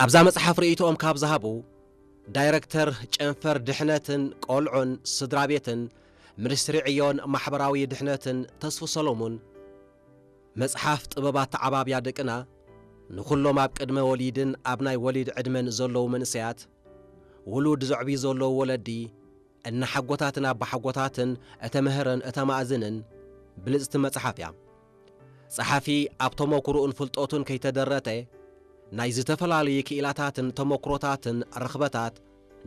ኣብዛ መጽሓፍ ርእይቶኦም ካብ ዝሃቡ፣ ዳይረክተር ጨንፈር ድሕነትን ቆልዑን ስድራ ቤትን ሚኒስትሪ ዕዮን ማሕበራዊ ድሕነትን ተስፉ ሰሎሙን፣ መጽሓፍ ጥበብ ኣተዓባብያ ደቅና ንኹሎም ኣብ ቅድመ ወሊድን ኣብ ናይ ወሊድ ዕድመን ዘለዉ መንእሰያት፣ ውሉድ ዘዕብዩ ዘለዉ ወለዲ፣ እናሓጎታትን ኣባሓጎታትን እተምህርን እተማእዝንን ብልጽቲ መጽሓፍ እያ። ጸሓፊ ኣብ ተመኩሮኡን ፍልጠቱን ከይተደረተ፣ ናይ ዝተፈላለዩ ክኢላታትን ተመኩሮታትን ርኽበታት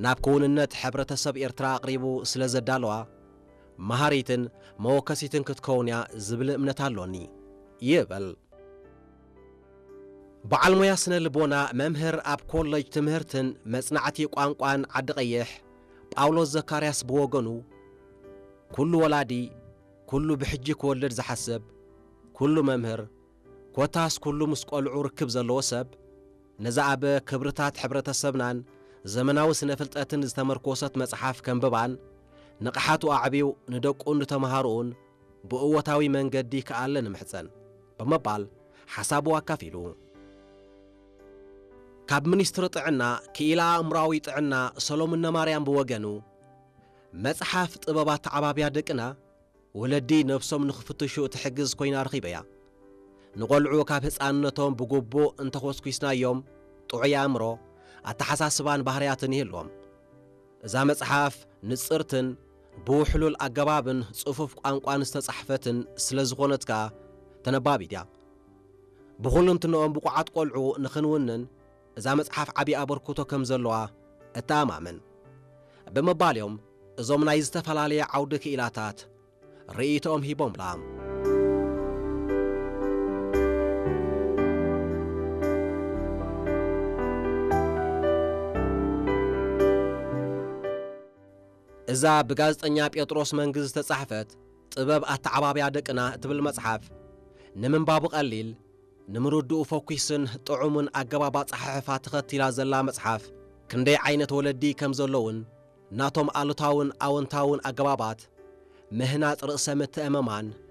ናብ ክውንነት ሕብረተሰብ ኤርትራ ኣቕሪቡ ስለ ዘዳለዋ፣ መሃሪትን መወከሲትን ክትከውን እያ ዝብል እምነት ኣሎኒ ይብል። በዓል ሞያ ስነ ልቦና፣ መምህር ኣብ ኮለጅ ትምህርትን መጽናዕቲ ቋንቋን ዓዲ ቀይሕ ጳውሎስ ዘካርያስ ብወገኑ፣ ኩሉ ወላዲ፣ ኩሉ ብሕጂ ክወልድ ዝሓስብ፣ ኩሉ መምህር፣ ኮታስ ኩሉ ምስ ቆልዑ ርክብ ዘለዎ ሰብ፣ ነዛ ኣብ ክብርታት ሕብረተሰብናን ዘመናዊ ስነ ፍልጠትን ዝተመርኮሰት መጽሓፍ ከንብባን ንቕሓቱ ኣዕብዩ ንደቁን ንተምሃሮኡን ብእወታዊ መንገዲ ክኣለ ንምሕጸን ብምባል ሓሳቡ ኣካፊሉ። ካብ ሚኒስትሪ ጥዕና ክኢላ ኣእምሮኣዊ ጥዕና ሰሎሙን ነማርያም ብወገኑ፣ መጽሓፍ ጥበብ ኣተዓባብያ ደቅና ወለዲ ነብሶም ንኽፍትሹ እትሕግዝ ኮይና ረኺበያ። ንቖልዑ ካብ ህጻንነቶም ብግቡእ እንተኾስኲስናዮም ጥዑይ ኣእምሮ፣ ኣተሓሳስባን ባህርያትን ይህልዎም። እዛ መጽሓፍ ንጽርትን ብውሕሉል ኣገባብን ጽፉፍ ቋንቋን ዝተጻሕፈትን ስለ ዝኾነት ከኣ ተነባቢት እያ። ብኹልንትንኦም ብቑዓት ቆልዑ ንኽንውንን እዛ መጽሓፍ ዓቢ ኣበርክቶ ከም ዘለዋ እተኣማመን ብምባል እዮም እዞም ናይ ዝተፈላለየ ዓውዲ ክኢላታት ርእይቶኦም ሂቦምላ። እዛ ብጋዜጠኛ ጴጥሮስ መንግዝ ዝተጻሕፈት ጥበብ ኣተዓባብያ ደቅና እትብል መጽሓፍ፣ ንምንባቡ ቀሊል፣ ንምርድኡ ፈኲስን ጥዑምን ኣገባብ ኣጸሓሕፋ ተኸቲላ ዘላ መጽሓፍ፣ ክንደይ ዓይነት ወለዲ ከም ዘለውን ናቶም ኣሉታውን ኣወንታውን ኣገባባት ምህናጽ ርእሰ ምትእምማን